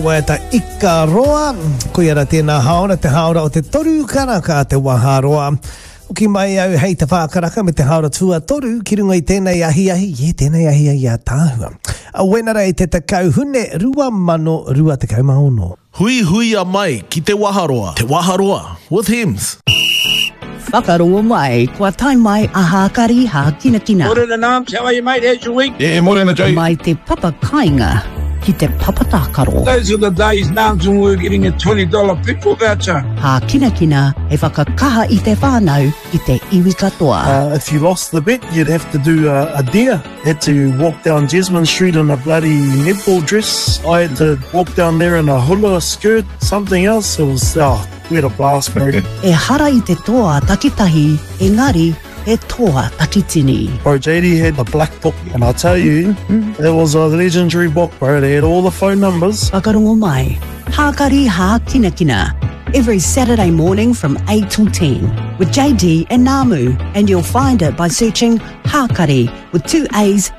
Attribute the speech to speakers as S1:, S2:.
S1: Waiata Ika Roa, koia ra tēnā haora, te haora o te toru karaka te waharoa. Hoki mai au hei te whā karaka me te haora tuatoru ki runga i tēnei ahiahi, yeah, tēnei ahiahi ātaahua. A Wenerei te 10 Hune 2026.
S2: Huihuia mai ki Te Waharoa. Te Waharoa with Hems.
S3: Whakarongo mai, kua tae mai a Hākari Hākinakina.
S4: Morena Nams, how are you mate, how's your week?
S5: Yeah, morena Jay.
S3: Mai te papa kainga ki te papa tākaro.
S4: Those are the days Nams and we were getting a $20 petrol voucher.
S3: Hākinakina he whakakaha i te whānau, i te iwi katoa.
S6: Uh, if you lost the bet, you'd have to do a, a dare. Had to walk down Jesmond Street in a bloody netball dress. I had to walk down there in a hula skirt, something else. It was, oh, we had a blast, bro.
S3: Ehara i te toa takitahi, engari he toa takitini.
S6: Bro, JD had the black book, and I tell you, it was a legendary book, bro. They had all the phone numbers.
S3: Whakarongo mai, Hākari Hākinakina, every Saturday morning from 8 till 10 with JD and Namu, and you'll find it by searching Hākari with two A's.